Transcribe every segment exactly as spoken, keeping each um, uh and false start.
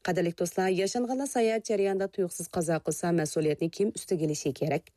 قەدىرلىك دوستلار، ياشانغانلار ساياھەت جەريانىدا تۇيۇقسىز قازا قىلسا، مەسئۇلىيەتنى كىم ئۈستىگە ئېلىشى كېرەك؟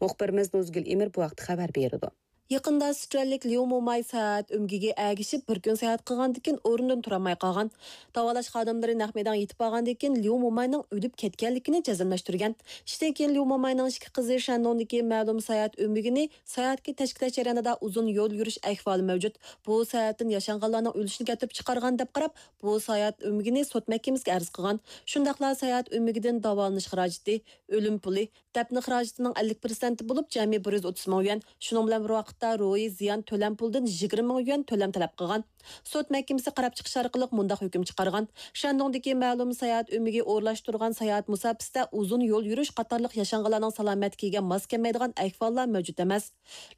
مۇخبىرىمىز نۇزگۈل ئىمىر بۇ ھەقتە خەۋەر بېرىدۇ. يېقىندا ئىسرائىللىك ليۇ موماي ساياھەت ئۆمىكىگە ئەگىشىپ بىر كۈن ساياھەت قىلغاندىن كېيىن ئورنىدىن تۇرالماي قالغان. داۋالاش خادىملىرى نەق مەيدانغا يېتىپ بارغاندىن كېيىن ليۇ موماينىڭ ئۆلۈپ كەتكەنلىكىنى جەزملەشتۈرگەن. ئىشتىن كېيىن ليۇ موماينىڭ ئىككى قىزى شەندۇڭدىكى مەلۇم ساياھەت ئۆمىكىنى ساياھەتكە تەشكىللەش جەريانىدا ئۇزۇن يول يۈرۈش ئەھۋالى مەۋجۇت. بۇ سەۋەبتىن ياشانغانلارنىڭ ئۆلۈشىنى كەلتۈرۈپ چىقارغان دەپ قاراپ، بۇ ساياھەت ئۆمىكىنى سوت مەھكىمىسىگە ئەرز قىلغان. شۇنداقلا ساياھەت ئۆمىكىدىن داۋالىنىش خىراجىتى، ئۆلۈم پۇلى، دەپنە خىراجىتىنىڭ ئەللىك پىرسەنتى بولۇپ، جەمئىي بىر يۈز ئوتتۇز مىڭ يۈەن، شۇنىڭ بىلەن بىر ۋاقىتتا روھىي زىيان تۆلەم پۇلىدىن يىگىرمە مىڭ يۈەن تۆلەم تەلەپ قىلغان. سوت مەھكىمىسى قاراپ چىقىش ئارقىلىق مۇنداق ھۆكۈم چىقارغان: شەندۇڭدىكى مەلۇم ساياھەت ئۆمىكى ئورۇنلاشتۇرغان ساياھەت مۇساپىسىدە ئۇزۇن يول يۈرۈش قاتارلىق ياشانغانلارنىڭ سالامەتلىكىگە ماس كەلمەيدىغان ئەھۋاللار مەۋجۇت ئەمەس.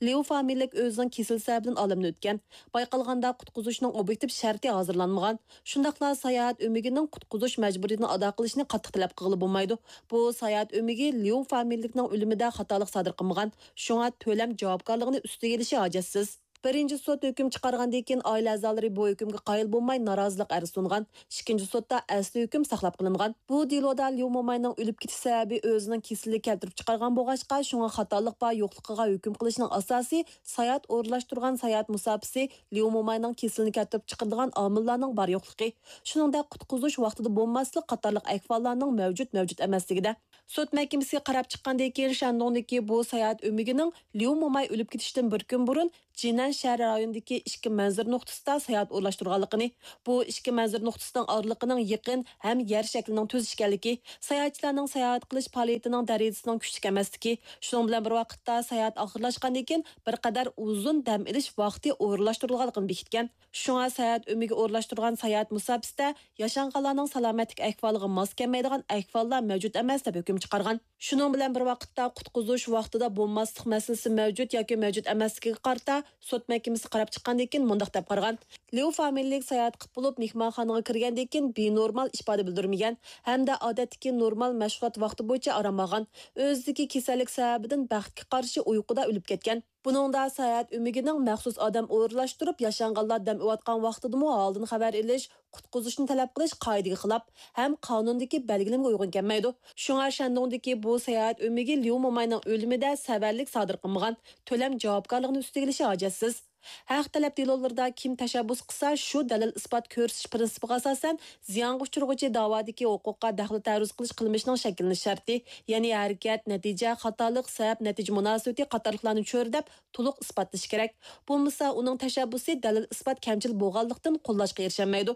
ليۇ فامىلىلىك ئۆزىنىڭ كېسىلى سەۋەبىدىن ئالەمدىن ئۆتكەن. بايقالغاندا، قۇتقۇزۇشنىڭ ئوبيېكتىپ شەرتى ھازىرلانمىغان. شۇنداقلا ساياھەت ئۆمىكىنىڭ قۇتقۇزۇش مەجبۇرىيىتىنى ئادا قىلىشنى قاتتىق تەلەپ قىلغىلى بولمايدۇ. بۇ ساياھەت ئۆمىكى ليۇ فامىلىلىكنىڭ ئۆلۈمىدە خاتالىق سادىر قىلمىغان، شۇڭا تۆلەم جاۋابكارلىقىنى ئۈستىگە ئېلىشى ھاجەتسىز. بىرىنچى سوت ھۆكۈم چىقارغاندىن كېيىن، ئائىلە ئەزالىرى بۇ ھۆكۈمگە قايىل بولماي، نارازىلىق ئەرزى سۇنغان. ئىككىنچى سوتتا ئەسلى ھۆكۈم ساقلاپ قېلىنغان. بۇ دېلودا ليۇ موماينىڭ ئۆلۈپ كېتىش سەۋەبى ئۆزىنىڭ كېسىلى كەلتۈرۈپ چىقارغان بولغاچقا، شۇڭا خاتالىق بار يوقلۇقىغا ھۆكۈم قىلىشنىڭ ئاساسى ساياھەت ئورۇنلاشتۇرغان ساياھەت مۇساپىسى، ليۇ موماينىڭ كېسىلىنى كەلتۈرۈپ چىقىرىدىغان ئامىللارنىڭ بار يوقلۇقى، شۇنىڭدەك قۇتقۇزۇش ۋاقتىدا بولماسلىق قاتارلىق ئەھۋاللارنىڭ مەۋجۇت، مەۋجۇت ئەمەسلىكىدە. سوت مەھكىمىسى قاراپ چىققاندىن كېيىن، شەندۇڭدىكى بۇ ساياھەت ئۆمىكىنىڭ ليۇ موماي ئۆلۈپ كېتىشتىن بىر كۈن بۇرۇن جىنەن شەھەر رايونىدىكى ئىككى مەنزىرە نۇقتىسىدا ساياھەت ئورۇنلاشتۇرغانلىقىنى، بۇ ئىككى مەنزىرە نۇقتىسىنىڭ ئارىلىقىنىڭ يېقىن ھەم يەر شەكلىنىڭ تۈز ئىكەنلىكى، ساياھەتچىلەرنىڭ ساياھەت قىلىش پائالىيىتىنىڭ دەرىجىسىنىڭ كۈچلۈك ئەمەسلىكى، شۇنىڭ بىلەن بىر ۋاقىتتا ساياھەت ئاخىرلاشقاندىن كېيىن بىر قەدەر ئۇزۇن دەم ئېلىش ۋاقتى ئورۇنلاشتۇرۇلغانلىقىنى بېكىتكەن. شۇڭا ساياھەت ئۆمىكى ئورۇنلاشتۇرغان ساياھەت مۇساپىسىدە ياشانغانلارنىڭ سالامەتلىك ئەھۋالىغا ماس كەلمەيدىغان ئەھۋاللار مەۋجۇت ئەمەس، دەپ ھۆكۈم چىقارغان. شۇنىڭ بىلەن بىر ۋاقىتتا، قۇتقۇزۇش ۋاقتىدا بولماسلىق مەسىلىسى مەۋجۇت ياكى مەۋجۇت ئەمەسلىكىگە قارىتا سوت مەھكىمىسى قاراپ چىققاندىن كېيىن مۇنداق دەپ قارىغان: ليۇ فامىلىلىك ساياھەت قىلىپ بولۇپ، مېھمانخانىغا كىرگەندىن كېيىن بىنورمال ئىپادە بىلدۈرمىگەن ھەمدە ئادەتتىكى نورمال مەشغۇلات ۋاقتى بويىچە ئارام ئالغان. ئۆزىدىكى كېسەللىك سەۋەبىدىن بەختكە قارشى ئۇيقۇدا ئۆلۈپ كەتكەن. بۇنىڭدا ساياھەت ئۆمىكىنىڭ مەخسۇس ئادەم ئورۇنلاشتۇرۇپ، ياشانغانلار دەم ئېلىۋاتقان ۋاقتىدىمۇ ھالدىن خەۋەر ئېلىش، قۇتقۇزۇشنى تەلەپ قىلىش قائىدىگە خىلاپ ھەم قانۇندىكى بەلگىلىمىگە ئۇيغۇن كەلمەيدۇ. شۇڭا شەندۇڭدىكى بۇ ساياھەت ئۆمىكى ليۇ موماينىڭ ئۆلۈمىدە سەۋەنلىك سادىر قىلمىغان، تۆلەم جاۋابكارلىقىنى ئۈستىگە ئېلىشى ھاجەتسىز. ھەق تەلەپ دېلولىرىدا كىم تەشەببۇس قىلسا، شۇ دەلىل-ئىسپات كۆرسىتىش پىرىنسىپىغا ئاساسەن، زىيانغا ئۇچرىغۇچى داۋادىكى ھوقۇققا دەخلى تەرۇز قىلىش قىلمىشىنىڭ شەكىللىنىش شەرتى، يەنى ھەرىكەت، نەتىجە، خاتالىق، سەۋەب، نەتىجە مۇناسىۋىتى قاتارلىقلارنى چۆرىدەپ، تولۇق ئىسپاتلىشى كېرەك. بولمىسا، ئۇنىڭ تەشەببۇسى دەلىل-ئىسپات كەمچىل بولغانلىقتىن قوللاشقا ئېرىشەلمەيدۇ.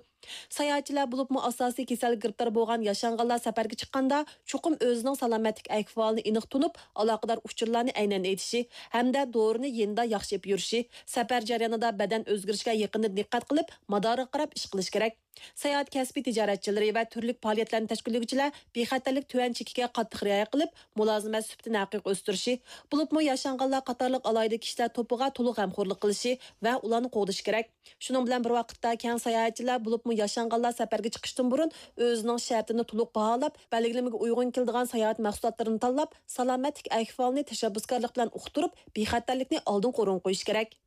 ساياھەتچىلەر، بولۇپمۇ ئاساسىي كېسەلگە گىرىپتار بولغان ياشانغانلار سەپەرگە چىققاندا، چوقۇم ئۆزىنىڭ سالامەتلىك ئەھۋالىنى ئېنىق تونۇپ، ئالاقىدار ئۇچۇرلارنى ئەينەن ئېيتىشى ھەمدە دورىنى يېنىدا ياخشى ئېلىپ يۈرۈشى، سەپەر جەريانىدا بەدەن ئۆزگىرىشىگە يېقىندىن دىققەت قىلىپ، مادارىغا قاراپ ئىش قىلىشى كېرەك. ساياھەت كەسپىي تىجارەتچىلىرى ۋە تۈرلۈك پائالىيەتلەرنى تەشكىللىگۈچىلەر بىخەتەرلىك تۆۋەن چېكىگە قاتتىق رىئايە قىلىپ، مۇلازىمەت سۈپىتىنى ھەقىقىي ئۆستۈرۈشى، بولۇپمۇ ياشانغانلار قاتارلىق ئالاھىدە كىشىلەر توپىغا تولۇق غەمخورلۇق قىلىشى ۋە ئۇلارنى قوغدىشى كېرەك. شۇنىڭ بىلەن بىر ۋاقىتتا، كەڭ ساياھەتچىلەر، بولۇپمۇ ياشانغانلار سەپەرگە چىقىشتىن بۇرۇن ئۆزىنىڭ شەرتىنى تولۇق باھالاپ، بەلگىلىمىگە ئۇيغۇن كېلىدىغان ساياھەت مەھسۇلاتلىرىنى تاللاپ، سالامەتلىك ئەھۋالىنى تەشەببۇسكارلىق بىلەن ئۇقتۇرۇپ، بىخەتەرلىكنى ئالدىنقى ئورۇنغا قويۇشى كېرەك.